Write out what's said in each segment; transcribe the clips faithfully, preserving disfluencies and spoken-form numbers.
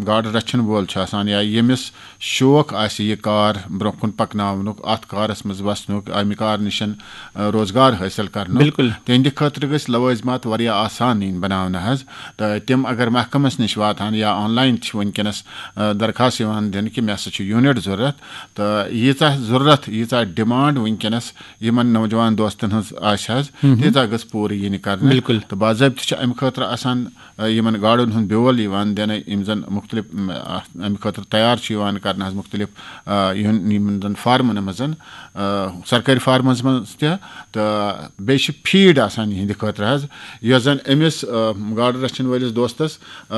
گاڈٕ رچھن وول چھُ آسان یا ییٚمِس شوق آسہِ یہِ کار برونٛہہ کُن پکناونُک، اتھ کارس منٛز وسنُک، امہِ کار نِشن، آ، روزگار حٲصِل کرنُک، بِلکُل۔ تِہنٛدِ خٲطرٕ گٔژھۍ لوٲزمات واریاہ آسان یِنۍ بناونہٕ حظ۔ تہٕ تِم اگر محکمس نِش واتہٕ ہن یا آن لاین چھِ وٕنکیٚنس، آ، درخواست یِوان دِنہٕ کہِ مےٚ ہسا چھُ یوٗنٹ ضروٗرت، تہٕ ییٖژاہ ضروٗرت، ییٖژاہ ڈِمانڈ وٕنکیٚنس یِمن نوجوان دوستن ہٕنٛز آسہِ حظ، تیٖژاہ گٔژھ پوٗرٕ یِنہِ کرنہٕ۔ بِلکُل۔ تہٕ باضٲبطہٕ چھِ امہِ خٲطرٕ آسان، آ، یِمن گاڈن ہُنٛد بیول یِوان دِنہٕ، یِم زن مُختٔلِف، م، آ، امہِ خٲطرٕ تیار چھِ یِوان کرنہٕ حظ مُختٔلِف، آ، یِہُنٛد، یِمن زن فارمن منٛز، آ، سرکٲرۍ فارمن منٛز تہِ، تہٕ بیٚیہِ چھِ فیٖڈ آسان یِہنٛدِ خٲطرٕ حظ، یۄس زن أمِس، آ، گاڈٕ رچھن وٲلِس دوستس، آ،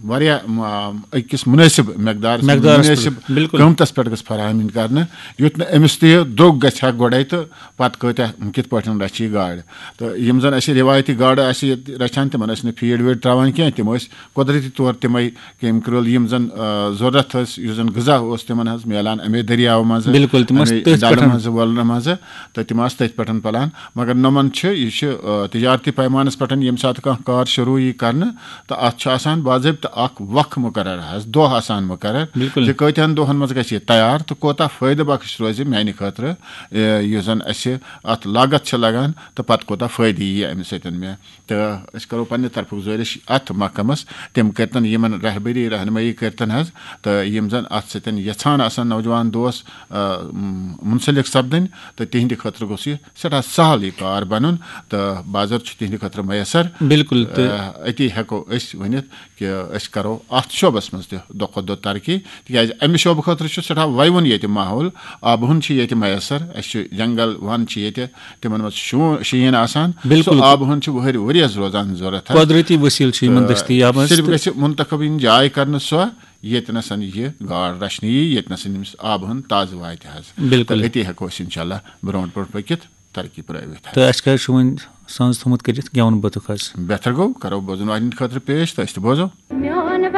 واریاہ، آ، أکِس مُنٲسِب مقدارس منٛز، مقدارس مُنٲسِب پٮ۪ٹھ، بِلکُل۔ قۭمتس پٮ۪ٹھ گٔژھ فراہم یِنۍ کرنہٕ، یُتھ نہٕ أمِس تہِ یہِ درٛوگ گژھِ ہا گۄڈے تہٕ پتہٕ کۭتیاہ، کِتھ پٲٹھۍ رچھِ یہِ گاڈ۔ تہٕ یِم زن اَسہِ رِوایتی گاڈٕ آسہِ ییٚتہِ رچھان، تِمن ٲسۍ نہٕ فیٖڈ ویٖڈ تراوان کینٛہہ، تِم ٲسۍ قۄدرٔتی طور تِمے کیمکل یِم زن، آ، ضروٗرت ٲسۍ، یُس زن غذا اوس تِمن حظ میلان امے دٔریاو منٛزٕ، بِلکُل، تِم ٲسۍ امے تٔتھۍ ڈلہٕ پٮ۪ٹھ۔ منٛزٕ، وۄلرٕ منٛزٕ، تہٕ تِم آسہٕ تٔتھۍ پٮ۪ٹھ پلان۔ مگر نۄمن چھِ، یہِ چھِ، آ، تجارتی پیمانس پٮ۪ٹھ ییٚمہِ ساتہٕ کانٛہہ کار شروٗع یی کرنہٕ، تہٕ اتھ چھُ آسان باضٲبطہٕ اکھ وق مُقرر حظ، دۄہ آسان مُقرر، بِلکُل۔ زِ کۭتِہن دۄہن منٛز گژھِ یہِ تیار تہٕ کوتاہ فٲیدٕ بخش روزِ میانہِ خٲطرٕ، آ، یُس زن اسہِ اتھ لاگت چھِ لگان تہٕ پتہٕ کوتاہ فٲیدٕ ییہِ امہِ سۭتۍ مےٚ۔ تہٕ أسۍ کرو پننہِ طرفہٕ گُزٲرِش اتھ محکمس، تِم کٔرتن یِمن رہبری رہنمٲیی کٔرتن حظ، تہٕ یِم زن اتھ سۭتۍ یژھان آسن نوجوان دوس، آ، م، منسلک سپدٕنۍ، تہٕ تِہنٛدِ خٲطرٕ گوٚژھ یہِ سٮ۪ٹھاہ سہل یہِ کار بنُن، تہٕ بازر چھُ تِہنٛدِ خٲطرٕ میسر۔ بِلکُل، تہٕ آ، أتی ہٮ۪کو أسۍ ؤنِتھ کہِ أسۍ کرو اتھ شعبس منٛز تہِ دۄہ کھۄتہٕ دۄہ ترقی، تِکیازِ امہِ شعبہٕ خٲطرٕ چھُ سٮ۪ٹھاہ ویوُن ییٚتہِ ماحول، آبہٕ ہُن چھُ ییٚتہِ میسر، اسہِ چھُ جنگل ون چھِ ییٚتہِ، تِمن منٛز چھُ شو-، شیٖن آسان۔ بِلکُل۔ سُہ آبہٕ ہُن چھُ وٕہٕرۍ ؤریَس روزان ضروٗرت حظ۔ قۄدرٔتی ؤسیٖلہٕ چھِ یِمن تہٕ دٔستیاب حظ، صرف تہٕ گژھِ منتخب یِنۍ جاے کرنہٕ سۄ، ییٚتہِ نَسَن یہِ گاڈ رچھنہٕ یی، ییٚتہِ نَسَن أمِس آبہٕ ہُن تازٕ واتہِ حظ۔ بِلکُل۔ تہٕ أتی ہٮ۪کو أسۍ انشاءاللہ برونٛٹھ برونٛٹھ پٔکِتھ، ترقی پرٲوِتھ حظ۔ تہٕ اَسہِ کیٛاہ چھُ وۄنۍ سَنٛز تھوٚمُت کٔرِتھ گٮ۪وَن بٲتُک حظ؟ بہتر گوٚو، کرو بوزن والٮ۪ن خٲطرٕ پیش تہٕ أسۍ تہِ بوزو۔ مےٚ